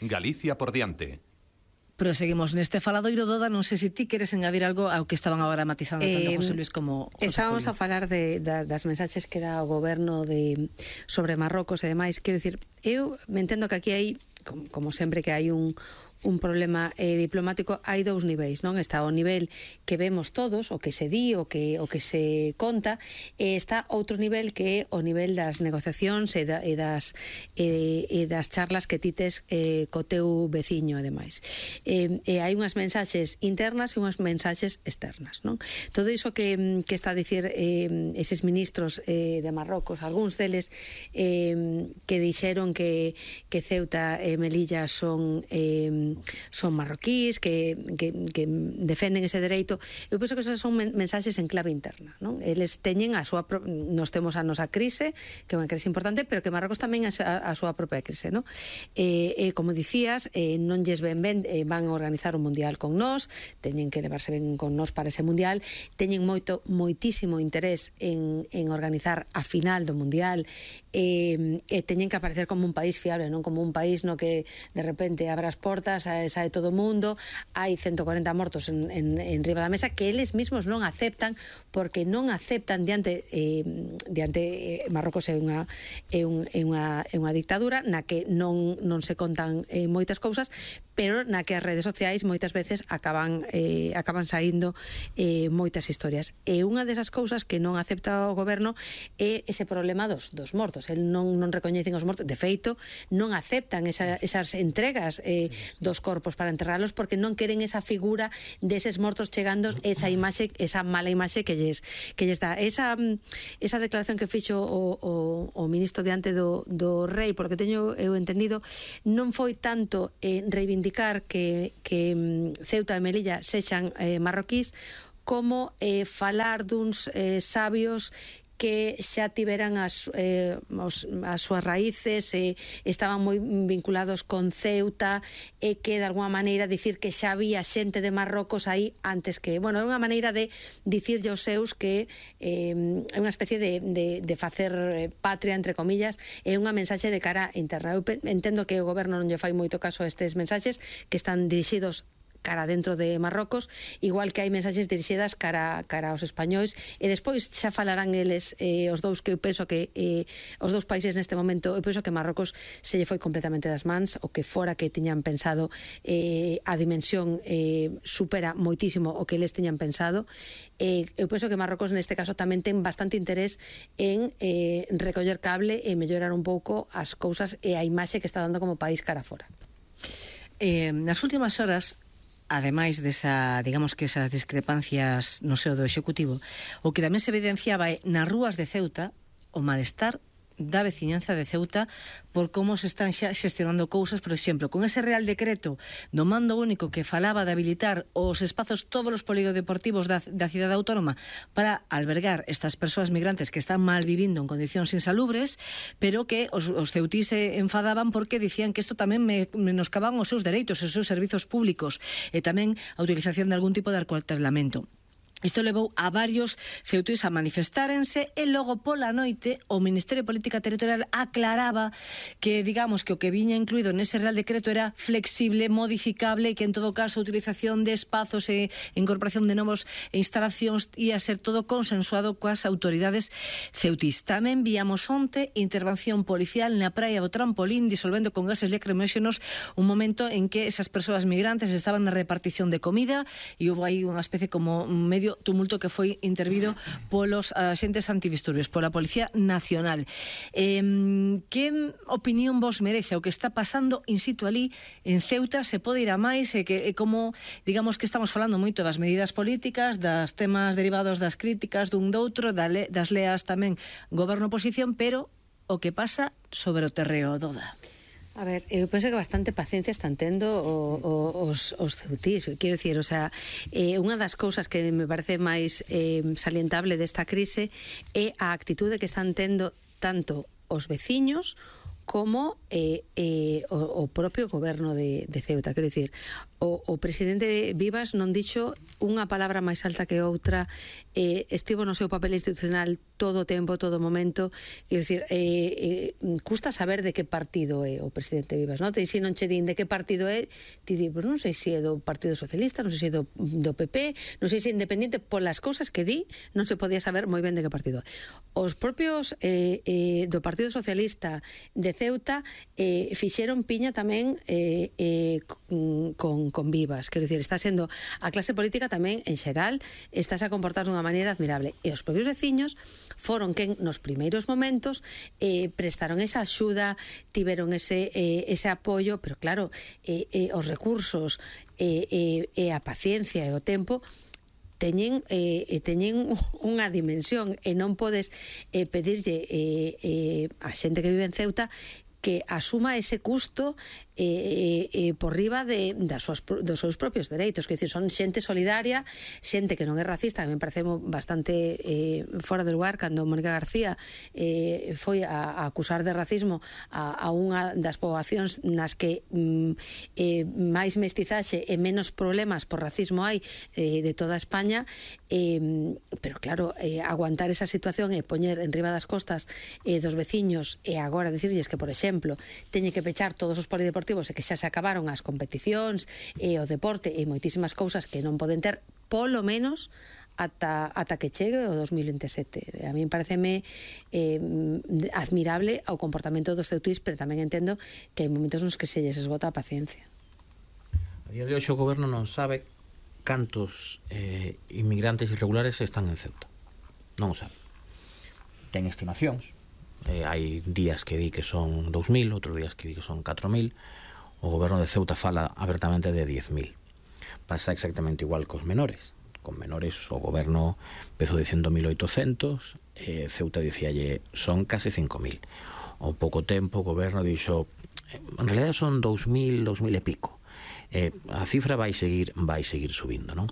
Galicia por diante. Proseguimos neste faladoiro, Doda, non sei se ti queres engadir algo ao que estaban agora matizando tanto José Luis como José Estábamos Julio. a falar das mensaxes que dá o goberno sobre Marrocos e demais. Quero dicir, eu me entendo que aquí hai, como sempre que hai un problema diplomático, hai dous niveis, non? Está o nivel que vemos todos, o que se di, o que se conta, e está outro nivel que é o nivel das negociacións e das charlas que tites co teu veciño e demais. E hai unhas mensaxes internas e unhas mensaxes externas, non? Todo iso que está a dicir eses ministros de Marrocos, algúns deles que dixeron que Ceuta e Melilla son marroquíes, que defenden ese dereito. Eu penso que esas son mensaxes en clave interna, non? Eles teñen a súa nos temos a nosa crise, que é unha crise importante, pero que Marrocos tamén a súa propia crise, non? Como dicías, non lles ben van a organizar un mundial con nós, teñen que levarse ben con nós para ese mundial, teñen moitísimo interés en organizar a final do mundial, e teñen que aparecer como un país fiable, non como un país no que de repente abre as portas, sae todo o mundo, hai 140 mortos en riba da mesa, que eles mesmos non aceptan, porque non aceptan diante Marrocos é unha dictadura na que non se contan moitas cousas, pero na que as redes sociais moitas veces acaban saindo moitas historias. E unha desas cousas que non acepta o goberno é ese problema dos mortos. El non recoñecen os mortos, de feito non aceptan esas entregas dos corpos para enterralos, porque non queren esa figura deses mortos chegando, esa mala imaxe que lles dá. Esa declaración que fixo o ministro diante do rei, por lo que teño eu entendido, non foi tanto reivindicar que Ceuta e Melilla sexan marroquís, como falar duns sabios que xa tiveran as súas raíces, estaban moi vinculados con Ceuta, e que de alguma maneira dicir que xa había xente de Marrocos aí antes que, bueno, é unha maneira de dicirlle aos seus que é unha especie de facer patria, entre comillas, é unha mensaxe de cara interna. Eu entendo que o goberno non lle fai moito caso a estes mensaxes que están dirixidos cara dentro de Marrocos, igual que hai mensaxes dirixidas cara aos españois, e despois xa falarán eles, os dous, que eu penso que os dous países neste momento, eu penso que Marrocos se lle foi completamente das mans, o que fora que tiñan pensado, a dimensión supera moitísimo o que eles tiñan pensado. Eu penso que Marrocos neste caso tamén ten bastante interés en recoller cable e mellorar un pouco as cousas e a imaxe que está dando como país cara fora. Nas últimas horas, ademais desa, digamos que esas discrepancias no seo do Executivo, o que tamén se evidenciaba é nas rúas de Ceuta o malestar da veciñanza de Ceuta por como se están xa xestionando cousas, por exemplo, con ese Real Decreto do mando único que falaba de habilitar os espazos, todos os polideportivos da cidade autónoma para albergar estas persoas migrantes que están mal vivindo en condicións insalubres, pero que os ceutís se enfadaban porque dicían que isto tamén menoscaban os seus dereitos, os seus servizos públicos, e tamén a utilización de algún tipo de acuartelamento. Isto levou a varios ceutís a manifestárense, e logo pola noite o Ministerio de Política Territorial aclaraba que, digamos, que o que viña incluído nese Real Decreto era flexible, modificable, e que en todo caso a utilización de espazos e incorporación de novos instalacións ia ser todo consensuado coas autoridades ceutís. Tamén víamos onte intervención policial na praia do Trampolín disolvendo con gases lacrimóxenos un momento en que esas persoas migrantes estaban na repartición de comida e houve aí unha especie como medio tumulto que foi intervido polos axentes antidisturbios, pola Policía Nacional. Que opinión vos merece o que está pasando in situ ali en Ceuta? Se pode ir a máis? E como, digamos que estamos falando moito das medidas políticas, das temas derivados das críticas dun doutro, das leas tamén goberno-oposición, pero o que pasa sobre o terreo, Doda? A ver, eu penso que bastante paciencia están tendo os ceutís. Quero dicir, o sea, unha das cousas que me parece máis salientable desta crise é a actitude que están tendo tanto os veciños como o propio goberno de Ceuta. Quero dicir, o presidente Vivas non dixo unha palabra máis alta que outra, estivo no seu papel institucional todo o tempo, todo o momento. Quero dicir, custa saber de que partido é o presidente Vivas, non? Se non che din de que partido é, ti di, non sei se é do Partido Socialista, non sei se é do PP, non sei se é independiente, polas cousas que di, non se podía saber moi ben de que partido é. Os propios do Partido Socialista de Ceuta fixeron piña tamén con Vivas. Quero dicir, está sendo a clase política tamén en xeral estáse a comportar dunha maneira admirable, e os propios veciños foron quen nos primeiros momentos prestaron esa axuda, tiveron ese apoio, pero claro, os recursos e a paciencia e o tempo teñen unha dimensión, e non podes pedirlle a xente que vive en Ceuta que asuma ese custo por riba dos seus propios dereitos. Que dicir, son xente solidaria, xente que non é racista. A mí me parece bastante fora de lugar cando Mónica García foi a acusar de racismo a unha das poboacións nas que máis mestizaxe e menos problemas por racismo hai de toda España, pero claro, aguantar esa situación e poñer en riba das costas dos veciños, e agora dicirlles que, por exemplo, teñe que pechar todos os polideportivos e que xa se acabaron as competicións e o deporte e moitísimas cousas que non poden ter, polo menos ata que chegue o 2027. A mí pareceme admirable o comportamento dos ceutís, pero tamén entendo que hai momentos nos que se lles esgota a paciencia. A día de hoxe o goberno non sabe cantos inmigrantes irregulares están en Ceuta. Non o sabe. Ten estimacións. Hai días que di que son 2.000, outros días que di que son 4.000. O goberno de Ceuta fala abertamente de 10.000. Pasa exactamente igual cos menores. Con menores o goberno empezou dicindo 1.800, Ceuta dicíalle son case 5.000. Ao pouco tempo o goberno dixo en realidad son 2.000 e pico. A cifra vai seguir subindo, non?